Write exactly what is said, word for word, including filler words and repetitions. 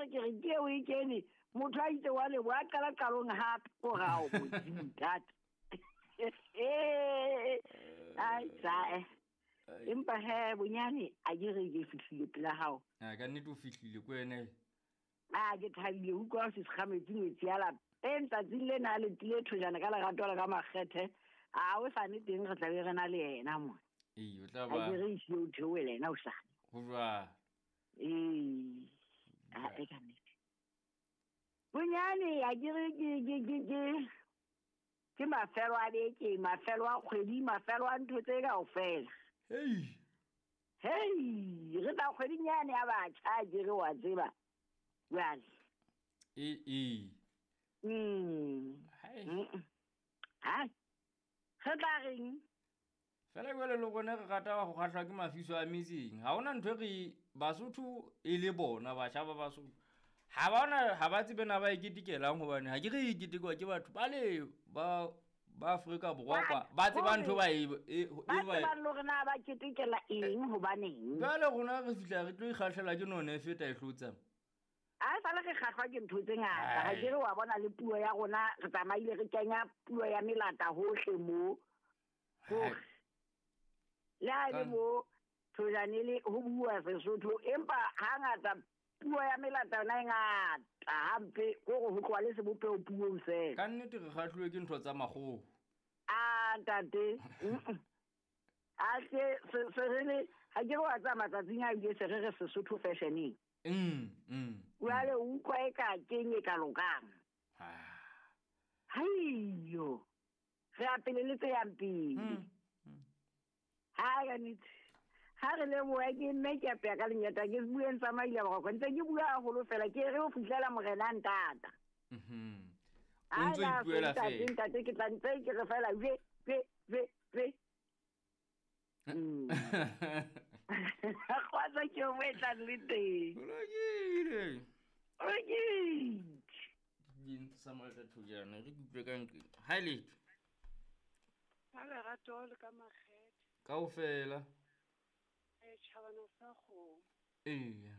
re ke re ke eo e kene motho a itse wa lebo a qala qalong hape ko rao modimo ntate. Ai tsae. Empa he bonyane a ke re ke fihlile pela hao. A ka nnete o fihlile ko wena. A ke thabile utlwa se sekgametsi ngwetsi ya lapeng tsatsing lena le tlile thojana ka lerato la ka makgethe. A o sane teng re tla be re na le yena mo. Ee, o tla ba. A ke re ise o theohele yena o sane. Ho jwang? Ee. A e ka nnete. Bonyane a ke re ke ke ke ke ke mafelo a beke, mafelo a kgwedi, mafelo a ntho tse kaofela. Hei. Hei, re tla kgweding yane ya batjha a ke re wa tseba. Jwale. Ee, ee. Mm. Hai. Hai. Re tla reng? Fela jwale le rona re rata ho kgahlwa ke mafiso a metseng. Ha hona ntho e re Basotho e le bona batjha ba Basotho. Ha ba ona ha ba tsebe na ba e ketekelang hobane ha ke re e ketekwa ke batho ba le ba ba Afrika Borwa kwa ba tseba ntho ba e e Ba tsebang le hore na ba ketekela eng hobaneng. Jwale rona re fihla re tlo ikgahlela ke none e feta e hlotsa. A sale re kgahlwa ke ntho tse ngata. Ha ke re wa bona le puo ya rona re tsamaile re kenya puo ya melata hohle mo. Hohle. Le ha le mo thojane le ho bua Sesotho empa hangata puo ya melata yona e ngata hampe kore ho tloha le sebopeho puong fela. Ka nnete re kgahluwe ke ntho tsa makgowa. A ntate. A ke se se re le ha ke re wa tsaya matsatsing a ile se re re Sesotho fashioneng. Mm, mm. Jwale o utlwa e ka keng e ka lokang. Ah. Haiyo. Re a pele le tse yang pele. Mm. Ha ka nnete. Ha re leboha ke mme ke apeya ka lenyata ke bueng tsa maile boroko ntse ke bua haholo fela ke re ho fihlela morena ntata. Mhm. O ntso ipuela Ntate fela. ntate ke tla ntse ke re fela ve ve ve ve. Mm. Kgotsa ke o e tlang le teng. Ho lokile. Ho lokile. Ding sa malta thojana re kutlwe ka nqeng. Ha letho. Ka lerato le ka makgethe. Kaofela. E tjhabana sa kgomo. Eya.